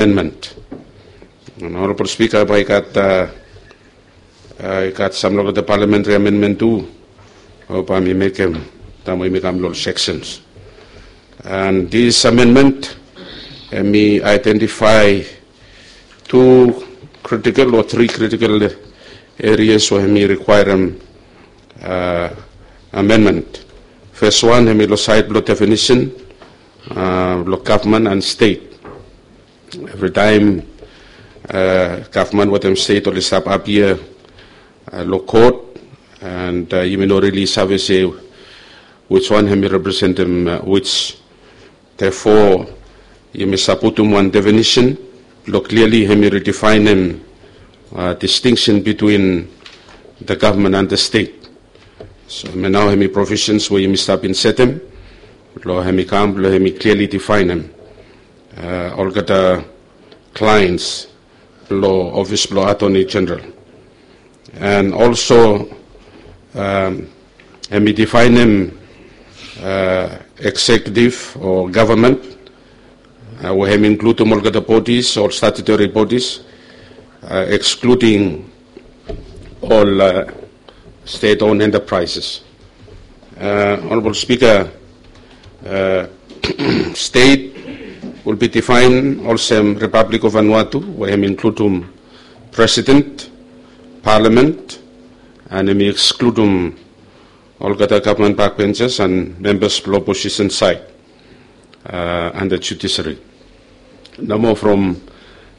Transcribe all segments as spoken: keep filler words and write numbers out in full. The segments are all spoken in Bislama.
amendment. And Honorable Speaker, bae i gat, uh, uh, i gat sam long the parliamentary amendment tu, o bae mi mekem taem we yumi kam long sections. And this amendment, hemi identify two critical or three critical areas we hemi requirem uh, amendment. First one, hemi long side blong definition uh, blong government and state. Evritaem uh, government wetem state oli stap appear uh, long court, and uh, yumi no really save se which one hemi representem uh, which. Therefore, yumi save putum wan definition blong clearly hemi redefineem uh, distinction between the government and the state. So hemi nao hemi provisions we yumi stap bin setem blong hemi kam blong hemi clearly defineem uh, olgeta clients blong office blong Attorney General. And also um, hemi defineem uh, executive o government uh, we hemi includem olgeta bodies, ol statutory bodies, uh, excluding ol uh, state-owned enterprises. Uh, Honorable Speaker, uh, state will be defined olsem Republic of Vanuatu, we hemi includem president, parliament, and hemi excludem olgeta government backbenchers and members blong opposition side uh, under judiciary. Nomo from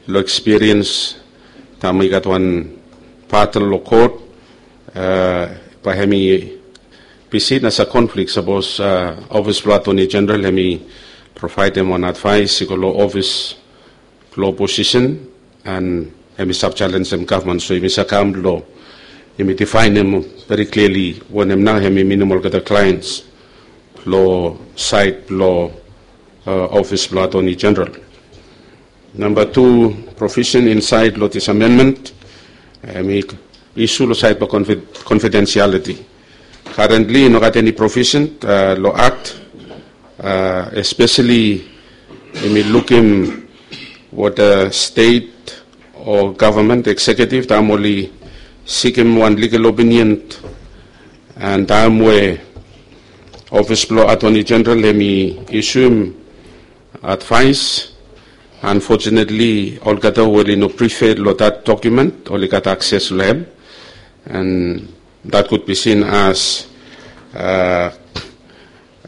long experience taem i gat wan battle long court, uh, bae hemi be seen as a conflict sapos uh, office blong Attorney General hemi provaedem wan advice i go long office blong opposition and hemi save jalenjem government. So yumi save kam blong yumi defineem very clearly wanem nao hemi minim olgeta clients blong side blong uh, office blong Attorney General. Namba tu, provision insaed long this amendment hemi issue long side blong confidentiality. Currently i no gat eni provision uh, long act uh, especially yumi lukim what the state o government executive taem oli sikim wan legal opinion and taem we office blong Attorney General hemi issuem advice. Unfortunately olgeta we oli no privy long that document oli gat access long hem, and that could be seen as uh,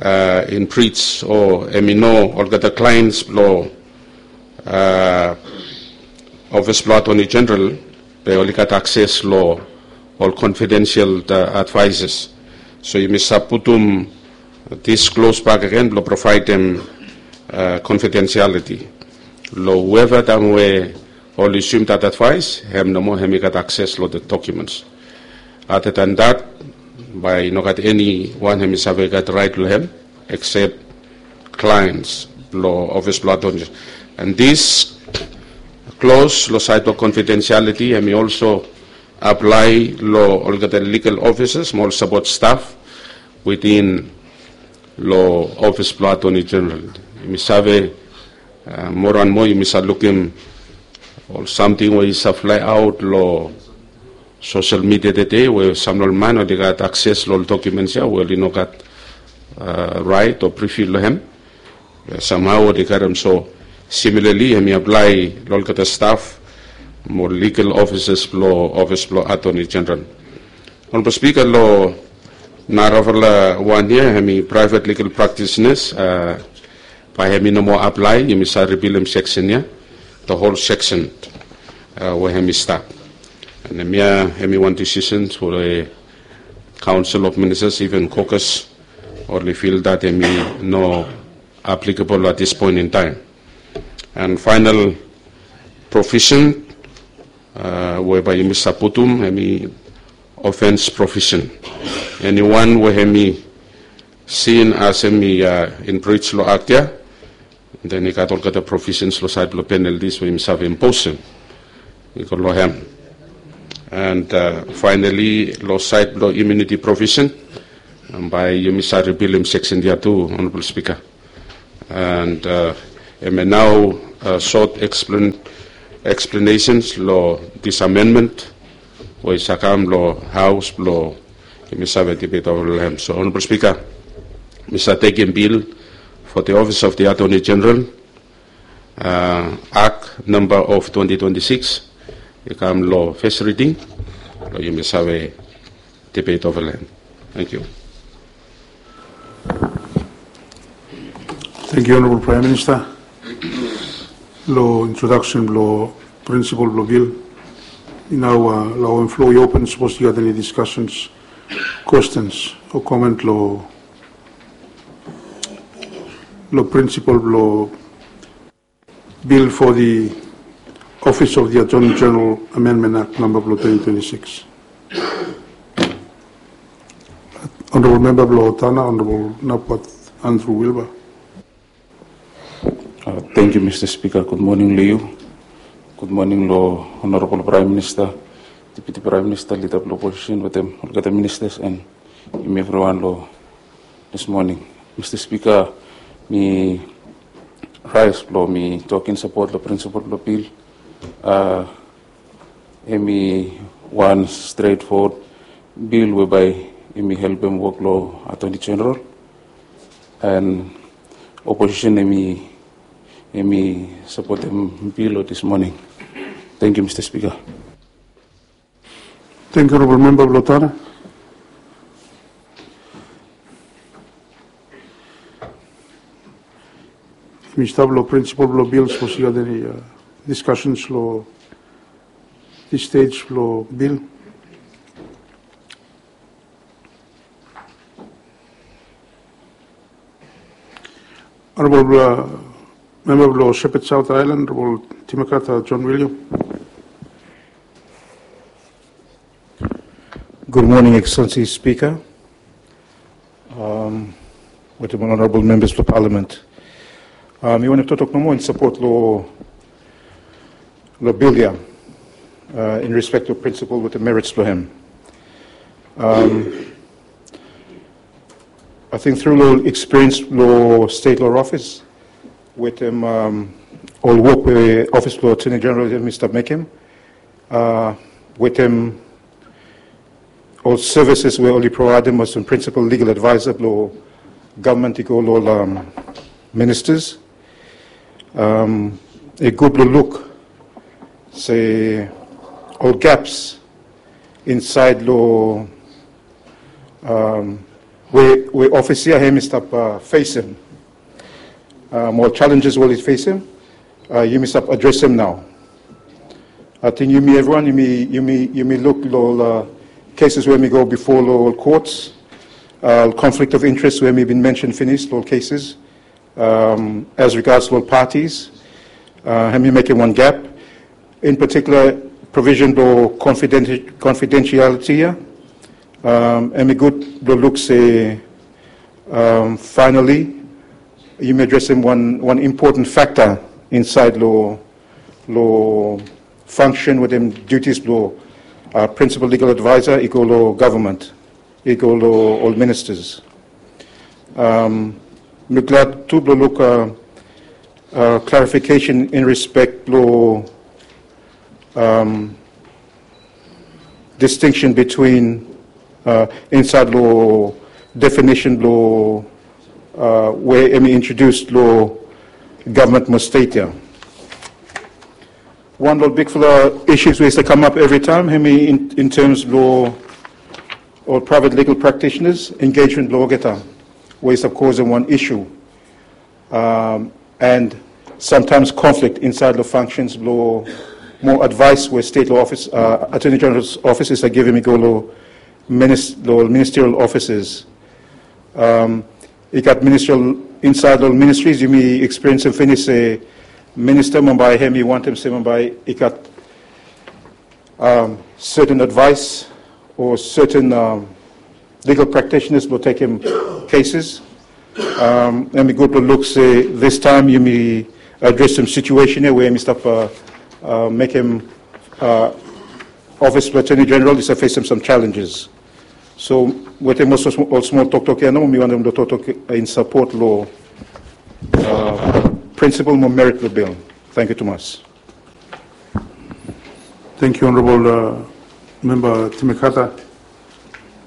uh, in breach o hemi no olgeta clients blong uh, office blong Attorney General bae oli gat access long ol confidential uh, advices. So yumi save putum this clause back again blong provaedem uh, confidentiality long whoever taem we oli assume that advice, hem nomo hemi gat access long the documents. Other than that, bae i no gat eni wan hemi save gat right long hem except clients blong office blong Attorney. And this clause long side blong confidentiality hemi also apply long olgeta legal officers mo ol support staff within long office blong Attorney General. Yumi save uh, moa and moa yumi save lukim ol samting we i save fly out long social media tede we sam long ol man oli gat access long ol documents ia we oli no gat uh, right o privy long hem. Somehow oli karem. So similarly hemi apply long olgeta staff mo legal officers blong office blong Attorney General. Honorable Speaker, long narafala wan ia hemi private legal practitioners uh, bae hemi no moa apply. Yumi save repealem section ia, the whole section uh, we hemi stap. And hemia hemi wan decision we Council of Ministers, even caucus, oli feel that hemi no applicable at this point in time. And final provision uh, we bae yumi save putum hemi offense provision. Eniwan we hemi seen as hemi uh, in breach long act ia, then i gat olgeta provisions long side blong penalties we yumi save imposem i go long hem. And uh, finally long side blong immunity provision, bae yumi save repealem section ia tu, Honorable Speaker. And uh, Hemia nao, uh, short explain, explanations lo this amendment we i save kam lo Haos blo yumi save debate ova lo hem. So, Honorable Speaker, mi save tekem bill for the Office of the Attorney General, uh, Act number of twenty twenty-six i kam lo first reading, lo yumi save debate ova lo hem. Thank you. Thank you, Honorable Prime Minister. Lo introduction blo principle blo bill. Nao, uh, lo floor i open, sapos i gat eni discussions, questions o comment lo, lo principle blo bill for the Office of the Attorney General Amendment Act number blo twenty twenty-six. Honorable Member blo Tana, Honorable Napwat Andrew Wilber. Uh, thank you, Mister Speaker. Good morning lo yu. Good morning lo Honorable Prime Minister, Deputy Prime Minister, Leader blo Opposition, wetem olgeta ministers and yumi evriwan lo this morning. Mister Speaker, mi rise blo mi tok in support lo principle blo bill. Uh, hemi wan straightforward bill whereby hemi helpem wok lo Attorney General. And opposition hemi, hemi sapotem bill lo this morning. Thank you, Mister Speaker. Thank you, Honorable Member blo Tana. Mi stap lo principle blo bill, sapos i gat eni, uh, discussions lo this stage blo bill. Honorable, uh, Member blo Sheppard South Island, Honorable Timakata John William. Good morning, Excellency Speaker, um, wetem honorable members of the parliament. Um, mi wantem toktok nomo in support lo, lo bill ia, uh, in respect to principle wetem merits blo hem. Um, I think through lo experience lo state lo office wetem, um, ol wok we Office blo Attorney General hemi stap mekem, uh, wetem ol services we oli provaedem as principal legal advisor blo gavman i go lo ol, um, ministers. Um, i gud blo luk se ol gaps insaed lo, um, we, we office ia hemi stap, uh, fesem. Um, ol challenges we oli fesem, uh, yumi stap adresem nao. Ating yumi evriwan yumi, yumi, yumi luk lo ol, uh, cases we hemi go bifo lo ol courts, uh, conflict of interest we hemi bin mention finis lo ol cases, um, as regards lo ol parties, uh, hemi mekem wan gap. In particular, provision blo confidenti-, confidentiality ia, um, hemi gud blo luk se, um, finally yumi adresem wan, wan important factor insaed lo, lo function wetem duties blo, uh, principal legal advisor i go lo gavman, i go lo ol ministers. Um, mi glad tu blo luk, uh, uh, clarification in respect lo, um, distinction between, uh, insaed lo definition blo, uh, we hemi introduce lo gavman mo state ia. Wan lo ol bigfala issues we i stap kamap evritaem hemi in, in terms blo ol private legal practitioners engagement blo olgeta, we i stap kosem wan issue, um, and sometimes conflict insaed lo functions blo mo advice we state lo office, uh, Attorney General's office i stap givim i go lo minis-, lo ministerial offices. Um, i gat ministerial, insaed lo ministries yumi experience finis se minister bambae hemi wantem se bambae i gat, um, certain advice o certain, um, legal practitioners blo tekem cases. Um, hemi gud blo luk se this time yumi adresem situation ia we hemi stap, uh, uh, mekem, uh, Office blo Attorney General i stap fesem some challenges. So wetem ol smol, ol smol toktok ia nomo, mi wantem blo toktok in support lo, uh, Prinsipol mo merit blong bil. Tangkiu tumas. Tangkiu, Honorable Memba Timmy Carter.